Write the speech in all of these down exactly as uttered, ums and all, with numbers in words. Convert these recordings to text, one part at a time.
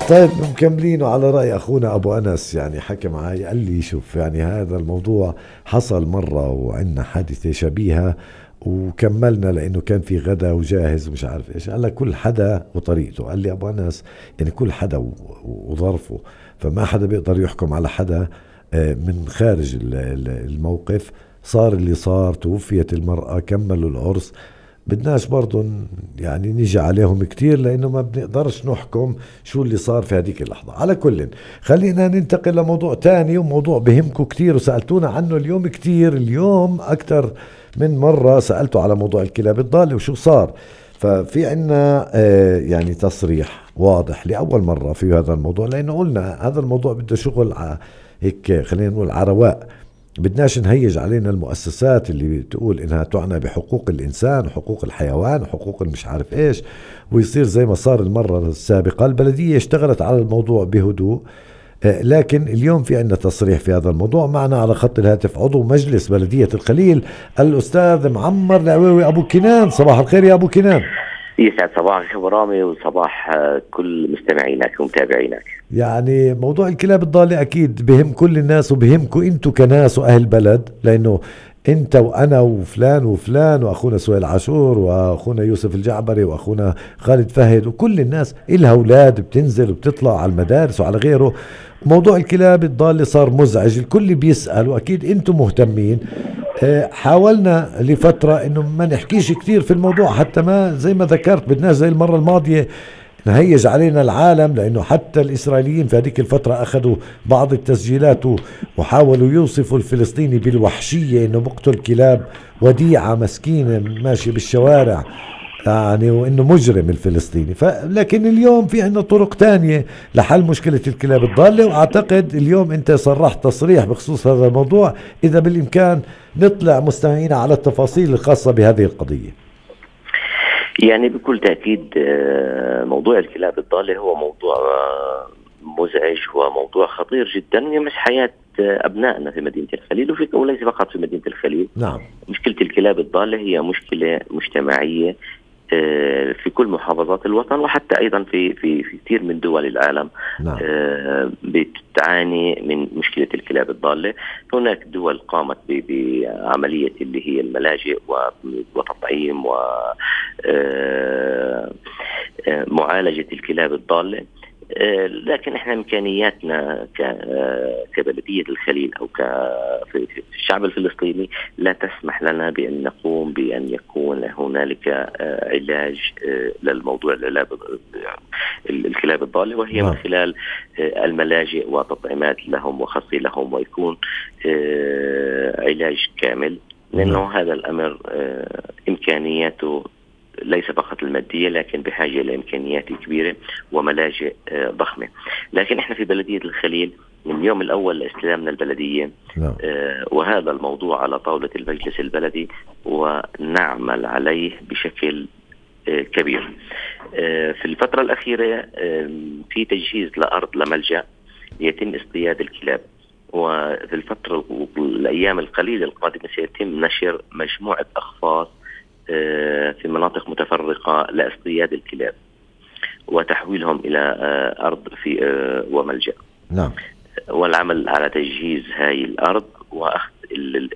طيب مكملين على رأي أخونا أبو أنس، يعني حكى معي قال لي شوف يعني هذا الموضوع حصل مرة وعندنا حادثة شبيهة وكملنا لأنه كان في غدا وجاهز ومش عارف إيش. قال لك كل حدا وطريقته. قال لي أبو أنس يعني كل حدا وظرفه، فما حدا بيقدر يحكم على حدا من خارج الموقف. صار اللي صار، توفيت المرأة، كملوا العرس. بدناش برضو يعني نيجي عليهم كتير لأنه ما بنقدرش نحكم شو اللي صار في هذيك اللحظة. على كل خلينا ننتقل لموضوع تاني، وموضوع بهمكم كتير وسألتونا عنه اليوم كتير. اليوم أكتر من مرة سألته على موضوع الكلاب الضالة وشو صار. ففي عنا آه يعني تصريح واضح لأول مرة في هذا الموضوع، لأنه قلنا هذا الموضوع بده شغل هيك خلينا نقول عرواء. بدناش نهيج علينا المؤسسات اللي بتقول إنها تعنى بحقوق الإنسان وحقوق الحيوان وحقوق المش عارف إيش، ويصير زي ما صار المرة السابقة. البلدية اشتغلت على الموضوع بهدوء، لكن اليوم في عندنا تصريح في هذا الموضوع. معنا على خط الهاتف عضو مجلس بلدية الخليل الأستاذ معمر العويوي أبو كنان. صباح الخير يا أبو كنان. يسعد صباحك أبو رامي وصباح كل مستمعينك ومتابعينك. يعني موضوع الكلاب الضالة أكيد بهم كل الناس وبهمكم أنتوا كناس وأهل بلد، لأنه أنت وأنا وفلان وفلان وأخونا سويل عاشور وأخونا يوسف الجعبري وأخونا خالد فهد وكل الناس إلها أولاد بتنزل وبتطلع على المدارس وعلى غيره. موضوع الكلاب الضالة صار مزعج، الكل بيسأل وأكيد أنتم مهتمين. حاولنا لفترة إنه ما نحكيش كتير في الموضوع حتى ما زي ما ذكرت بدناش زي المرة الماضية نهيج علينا العالم، لأنه حتى الإسرائيليين في هذيك الفترة أخذوا بعض التسجيلات وحاولوا يوصفوا الفلسطيني بالوحشية، إنه بقتل كلاب وديعة مسكينة ماشي بالشوارع يعني، وإنه مجرم الفلسطيني. لكن اليوم في عنا طرق تانية لحل مشكلة الكلاب الضالة، وأعتقد اليوم أنت صرحت تصريح بخصوص هذا الموضوع. إذا بالإمكان نطلع مستمعينا على التفاصيل الخاصة بهذه القضية. يعني بكل تأكيد موضوع الكلاب الضالة هو موضوع مزعج وموضوع خطير جدا يمس حياة أبنائنا في مدينة الخليل، وفي وليس فقط في مدينة الخليل. نعم. مشكلة الكلاب الضالة هي مشكلة مجتمعية في كل محافظات الوطن، وحتى أيضا في في في كثير من دول العالم. نعم. بتعاني من مشكلة الكلاب الضالة. هناك دول قامت بعملية اللي هي الملاجئ وتطعيم ومعالجة الكلاب الضالة، لكن احنا امكانياتنا كبلدية الخليل او في الشعب الفلسطيني لا تسمح لنا بان نقوم بان يكون هنالك علاج للموضوع الكلاب الضالة، وهي من خلال الملاجئ وتطعيمات لهم وخصي لهم، ويكون علاج كامل، لانه هذا الامر امكانياته ليس فقط المادية لكن بحاجة لإمكانيات كبيرة وملاجئ ضخمة. لكن إحنا في بلدية الخليل من اليوم الأول لاستلامنا البلدية آه وهذا الموضوع على طاولة المجلس البلدي ونعمل عليه بشكل آه كبير. آه في الفترة الأخيرة آه في تجهيز لأرض لملجأ يتم اصطياد الكلاب، وفي الفترة الأيام القليلة القادمة سيتم نشر مجموعة أخفاص في مناطق متفرقة لاصطياد الكلاب وتحويلهم إلى أرض في وملجأ. نعم. والعمل على تجهيز هاي الأرض وأخذ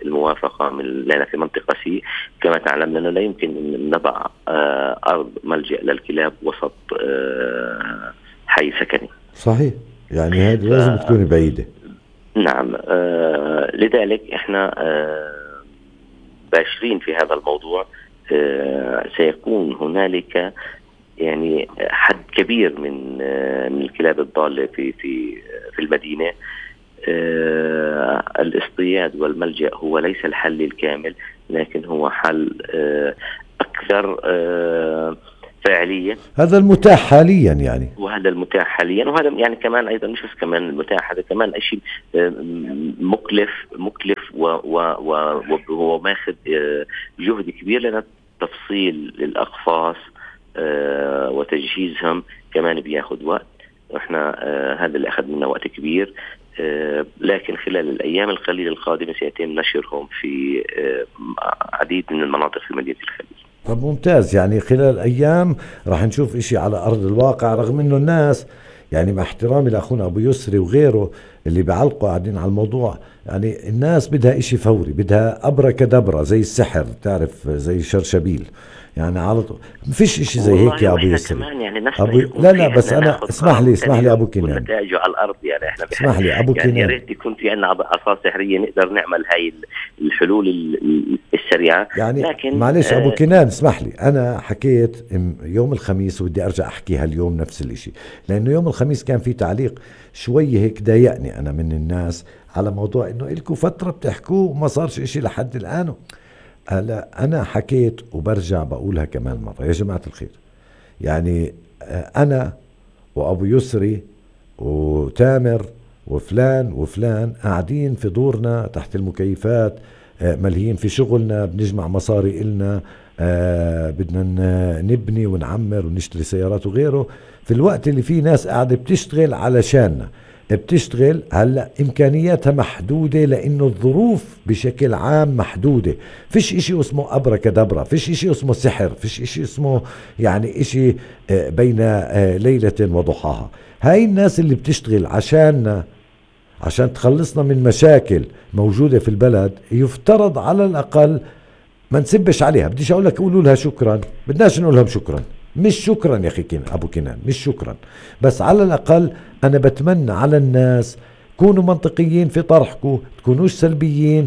الموافقة من لنا في منطقة سي. كما تعلم أنه لا يمكن أن نضع أرض ملجأ للكلاب وسط حي سكني. صحيح، يعني هذه لازم تكون بعيدة. نعم. لذلك إحنا باشرين في هذا الموضوع. سيكون هنالك يعني حد كبير من من الكلاب الضالة في في في المدينة. الاصطياد والملجأ هو ليس الحل الكامل، لكن هو حل أكثر فاعلية. هذا المتاح حاليا يعني. وهذا المتاح حاليا، وهذا يعني كمان أيضا مش بس كمان المتاح، هذا كمان شيء مكلف مكلف وهو ماخذ جهد كبير، لأن تفصيل الأقفاص وتجهيزهم كمان بياخد وقت، وإحنا هذا اللي أخذ منا وقت كبير. لكن خلال الأيام القليلة القادمة سيتم نشرهم في عديد من المناطق في مدينة الخليل. طب ممتاز، يعني خلال أيام راح نشوف إشي على أرض الواقع، رغم إنه الناس يعني مع احترامي لأخونا أبو يسري وغيره اللي بيعلقوا قاعدين على الموضوع، يعني الناس بدها إشي فوري، بدها أبركدبرة زي السحر، تعرف زي شرشبيل يعني على طول. ما فيش إشي زي هيك يا أبو يسري. يعني أبو لا لا بس أنا اسمح لي اسمح لي أبو كنان، نتائجه على الأرض يعني احنا اسمح لي أبو يعني كنان، يا ريت يكون في عنا عصا سحرية نقدر نعمل هاي الحلول السريعة. يعني لكن معلش آه أبو كنان اسمح لي، أنا حكيت يوم الخميس وبدي أرجع أحكي هاليوم نفس الإشي، لأنه يوم الخميس كان في تعليق شوي هيك ضايقني أنا من الناس على موضوع إنه إلكوا فترة بتحكوه وما صارش إشي لحد الآن. هلا أنا حكيت وبرجع بقولها كمان مرة يا جماعة الخير، يعني أنا وأبو يسري وتامر وفلان وفلان قاعدين في دورنا تحت المكيفات، ملهيين في شغلنا، بنجمع مصاري إلنا، آه بدنا نبني ونعمر ونشتري سيارات وغيره، في الوقت اللي فيه ناس قاعدة بتشتغل علشاننا، بتشتغل هلأ إمكانياتها محدودة لأنه الظروف بشكل عام محدودة. فيش إشي اسمه أبركدبرة، فيش إشي اسمه سحر، فيش إشي اسمه يعني إشي بين ليلة وضحاها. هاي الناس اللي بتشتغل عشاننا عشان تخلصنا من مشاكل موجودة في البلد، يفترض على الأقل ما نسبش عليها. بديش أقول لك قولوا لها شكرا، بدناش نقول لهم شكرا، مش شكرا يا أخي كين أبو كنان، مش شكرا، بس على الأقل أنا بتمنى على الناس كونوا منطقيين في طرحكم، تكونوش سلبيين،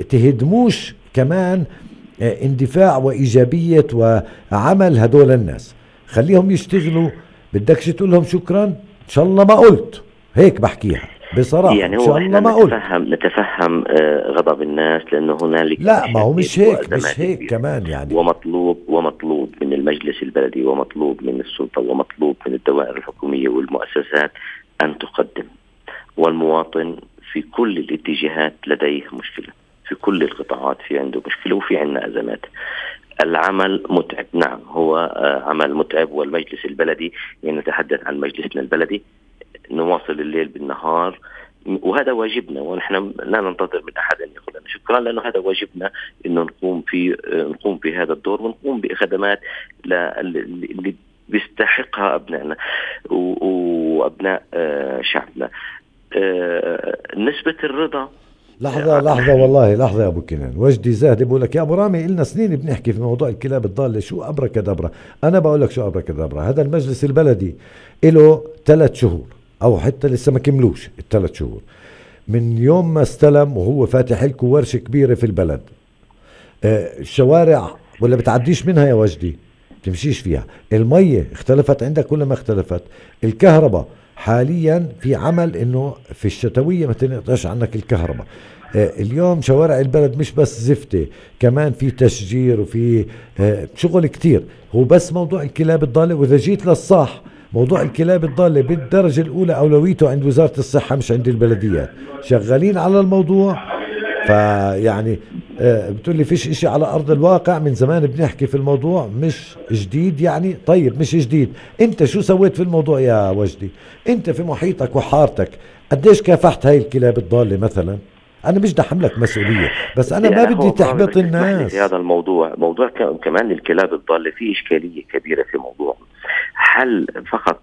تهدموش كمان اندفاع وإيجابية وعمل هدول الناس، خليهم يشتغلوا. بدكش تقول لهم شكرا، إن شاء الله ما قلت هيك، بحكيها بصراحة يعني إن شاء الله ما قلت. نتفهم نتفهم غضب الناس، لأنه هنالك لا ما هو مش هيك مش هيك كبيرة. كمان يعني ومطلوب ومطلوب من المجلس البلدي ومطلوب من السلطة ومطلوب من الدوائر الحكومية والمؤسسات أن تقدم. والمواطن في كل الاتجاهات لديه مشكلة، في كل القطاعات في عنده مشكلة وفي عنا أزمات. العمل متعب، نعم هو عمل متعب، والمجلس البلدي يعني نتحدث عن مجلسنا البلدي، نواصل الليل بالنهار، وهذا واجبنا، ونحن لا ننتظر من أحد أن يقول لنا شكرا، لأنه هذا واجبنا إنه نقوم في نقوم في هذا الدور، ونقوم بخدمات اللي بيستحقها أبنائنا وأبناء شعبنا. نسبة الرضا لحظة لحظة والله لحظة يا أبو كنان، وجدي زاهد بقول لك يا أبو رامي إلنا سنين بنحكي في موضوع الكلاب الضالة، شو أبركدبرة؟ أنا بقول لك شو أبركدبرة. هذا المجلس البلدي له ثلاث شهور أو حتى لسه ما كملوش الثلاث شهور من يوم ما استلم، وهو فاتح لكم ورشة كبيرة في البلد. آه الشوارع ولا بتعديش منها يا وجدي، تمشيش فيها. المية اختلفت عندك ولا ما اختلفت؟ الكهرباء حاليا في عمل انه في الشتوية ما تنقطعش عنك الكهرباء. آه اليوم شوارع البلد مش بس زفتة، كمان في تشجير وفي آه شغل كتير. هو بس موضوع الكلاب الضالة، واذا جيت للصح موضوع الكلاب الضالة بالدرجة الأولى أولويته عند وزارة الصحة مش عند البلديات، شغالين على الموضوع. فيعني آه بتقول لي فيش إشي على أرض الواقع، من زمان بنحكي في الموضوع، مش جديد يعني. طيب مش جديد، أنت شو سويت في الموضوع يا وجدي؟ أنت في محيطك وحارتك قديش كافحت هاي الكلاب الضالة مثلا؟ أنا مش بدي حملك مسؤولية، بس أنا ما بدي تحبط الناس في هذا الموضوع. موضوع كمان الكلاب الضالة فيه إشكالية كبيرة في موضوع حل فقط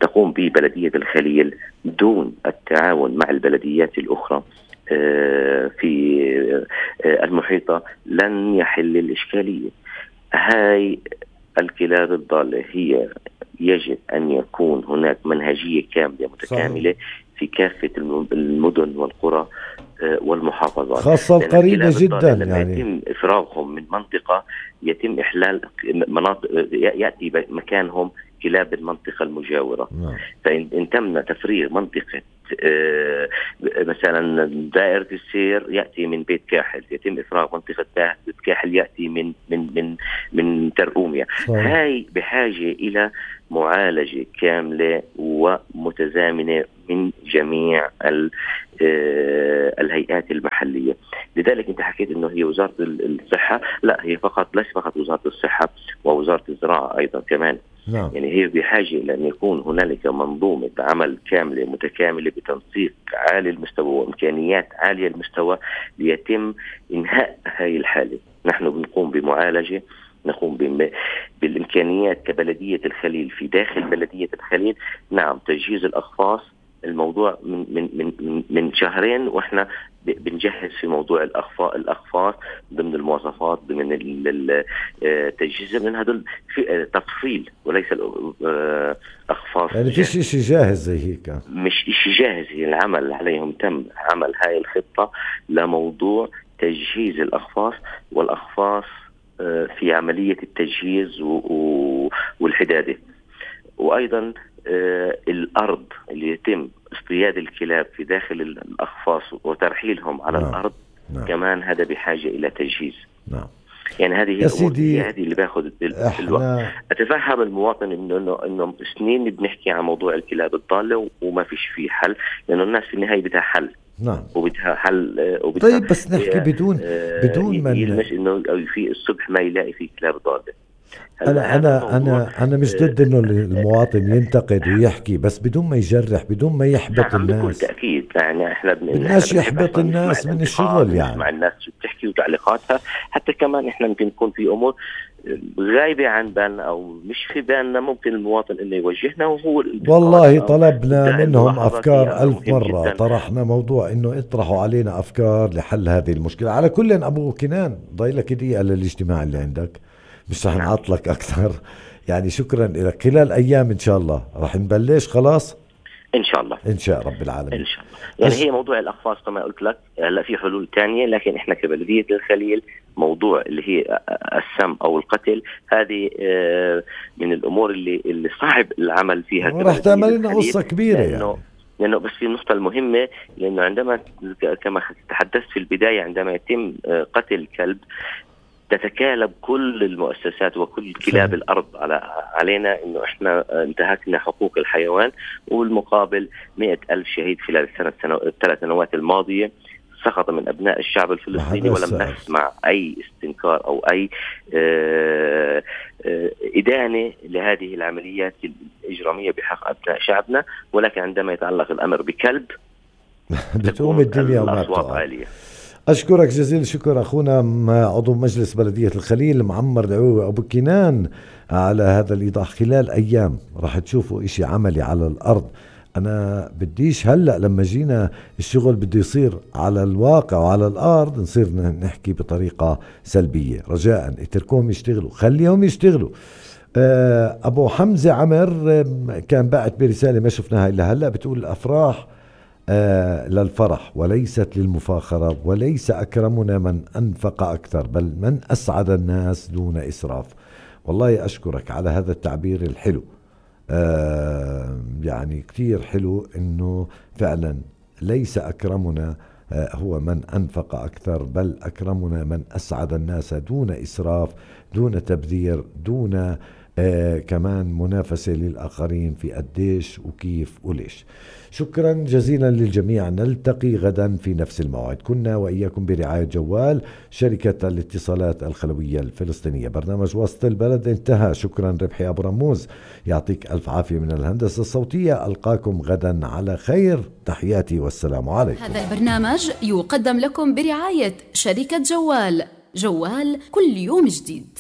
تقوم به بلدية الخليل دون التعاون مع البلديات الأخرى في المحيطة لن يحل الإشكالية. هاي الكلاب الضالة هي يجب أن يكون هناك منهجية كاملة متكاملة في كافة المدن والقرى والمحافظات، خاصة القريبة جدا. لما يعني يتم إفراغهم من منطقة يتم إحلال مناطق، يأتي مكانهم كلاب المنطقة المجاورة. نعم. فإن تم تفريغ منطقة آه مثلا دائرة السير يأتي من بيت كاحل، يتم إفراغ منطقة بيت كاحل يأتي من من من من ترقوميا. هاي بحاجة إلى معالجة كاملة ومتزامنة من جميع الهيئات المحلية. لذلك انت حكيت انه هي وزارة الصحة، لا هي فقط ليس فقط وزارة الصحة، ووزارة الزراعة ايضا كمان. نعم. يعني هي بحاجة لأن يكون هنالك منظومة عمل كاملة متكاملة بتنسيق عالي المستوى وإمكانيات عالية المستوى ليتم إنهاء هاي الحالة. نحن بنقوم بمعالجة، نقوم بالإمكانيات كبلدية الخليل في داخل بلدية الخليل. نعم تجهيز الأقفاص الموضوع من من من من شهرين واحنا بنجهز في موضوع الأقفاص الأقفاص ضمن المواصفات ضمن التجهيز من هذا في تفصيل وليس الأقفاص يعني في شيء جاهز زي هيك، مش شيء جاهز. العمل عليهم تم عمل هاي الخطة لموضوع تجهيز الأقفاص والأقفاص في عملية التجهيز والحدادة. وأيضا الأرض اللي يتم اصطياد الكلاب في داخل الأقفاص وترحيلهم على نعم. الأرض نعم. كمان هذا بحاجة إلى تجهيز. نعم. يعني هذه هي الأمور هذه اللي باخذ الوقت. أتفهم المواطن إنه إنه إنه سنين بنحكي عن موضوع الكلاب الضالة وما فيش فيه حل، لأنه الناس في النهاية بدها حل. نعم. وبدها حل وبدها طيب بس نحكي بدون بدون من يلمس إنه في الصبح ما يلاقي فيه كلاب ضالة. أنا أنا أنا أنا مش ضد إنه المواطن ينتقد ويحكي، بس بدون ما يجرح، بدون ما يحبط نعم الناس. بكل تأكيد يعني إحنا بدناش يحبط الناس من الشغل، يعني نسمع الناس بتحكي وتعليقاتها. حتى كمان إحنا ممكن يكون في أمور غايبة عن بالنا أو مش في بالنا، ممكن المواطن إنه يوجهنا. وهو والله طلبنا منهم أفكار ألف مرة، طرحنا موضوع إنه اطرحوا علينا أفكار لحل هذه المشكلة. على كل أبو كنان ضايلك دقيقة للاجتماع اللي عندك، مش رح نعطلك أكثر. يعني شكرا لك. خلال أيام إن شاء الله رح نبلش خلاص إن شاء الله، إن شاء رب العالمين إن شاء الله. يعني أش... هي موضوع الأقفاص كما قلت لك هلا في حلول تانية، لكن إحنا كبلدية الخليل موضوع اللي هي السم أو القتل هذه من الأمور اللي اللي صعب العمل فيها. راح تعمل لنا قصة كبيرة لأنه يعني. لأنه بس في النقطة المهمة، لأنه عندما كما تحدثت في البداية عندما يتم قتل كلب تتكالب كل المؤسسات وكل كلاب الأرض على علينا إنه إحنا انتهكنا حقوق الحيوان، والمقابل مئة ألف شهيد خلال السنة الثلاث سنوات الماضية سقط من أبناء الشعب الفلسطيني، ولم نسمع أي استنكار أو أي آآ آآ إدانة لهذه العمليات الإجرامية بحق أبناء شعبنا. ولكن عندما يتعلق الأمر بكلب بتقوم الدنيا والأصوات عالية. أشكرك جزيل الشكر أخونا عضو مجلس بلدية الخليل معمر دعوي أبو كنان على هذا الإيضاح. خلال أيام راح تشوفوا إشي عملي على الأرض. أنا بديش هلأ لما جينا الشغل بده يصير على الواقع وعلى الأرض نصير نحكي بطريقة سلبية. رجاء اتركوهم يشتغلوا، خليهم يشتغلوا. أبو حمزة عمر كان باعت برسالة ما شفناها إلا هلأ، بتقول الأفراح آه للفرح وليست للمفاخرة، وليس أكرمنا من أنفق أكثر بل من أسعد الناس دون إسراف. والله أشكرك على هذا التعبير الحلو. آه يعني كتير حلو إنه فعلا ليس أكرمنا آه هو من أنفق أكثر بل أكرمنا من أسعد الناس دون إسراف، دون تبذير، دون آه كمان منافسة للآخرين في قديش وكيف وليش. شكرا جزيلا للجميع. نلتقي غدا في نفس الموعد. كنا وإياكم برعاية جوال شركة الاتصالات الخلوية الفلسطينية. برنامج وسط البلد انتهى. شكرا ربحي أبو رموز، يعطيك ألف عافية من الهندسة الصوتية. ألقاكم غدا على خير. تحياتي والسلام عليكم. هذا البرنامج يقدم لكم برعاية شركة جوال. جوال كل يوم جديد.